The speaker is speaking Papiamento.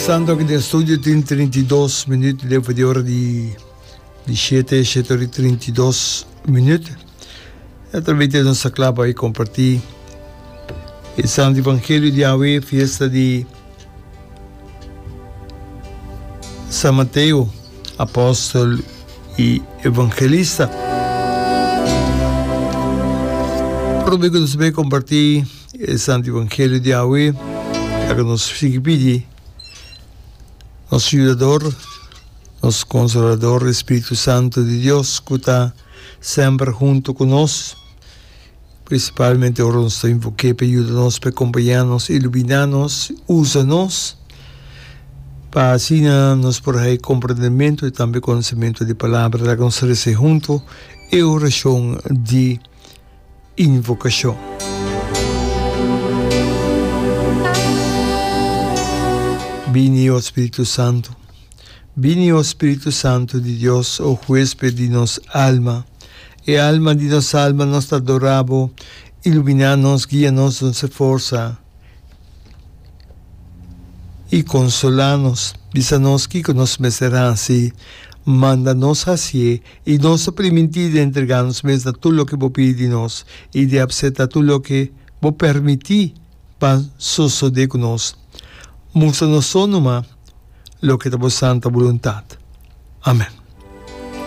Pasando aki den studio tin 32 minuut leu di ora di di shete, shete ora y 32 minuut. Naturalmente nos ta kla pa comparti e Santo Evangelio di awe, fiesta di San Mateo, apòstel i evangelista. Promé ku nos bai kompartí e Santu Evangelio di awe, laga nos sigui pidi nos Yudador, nos Konsolador, e Spiritu Santu di Dios, ku ta semper huntu ku nos. Prinsipalmente ora nos ta invok'é pa e yuda nos, pa e kompañá nos, iluminá nos, usa nos, pa asina nos por haña komprendementu i tambe konosementu di Palabra. Laga nos resa huntu e orashon di invokashon. Bini, o Spiritu Santu. Bini, o Spiritu Santu di Dios, o Huesped di nos alma. E alma di nos alma, nos ta adorá Bo. Iluminá nos, guia nos, duna forsa i konsolá nos. Bisa nos kiko nos mester hasi, manda nos hasié, i nos ta primintí di entregá nos mes na tur loke Bo pidi di nos i di apseptá tur loke Bo permití pa sosodé ku nos. Mustra nos so numa loke ta Bo santa boluntat. Amèn.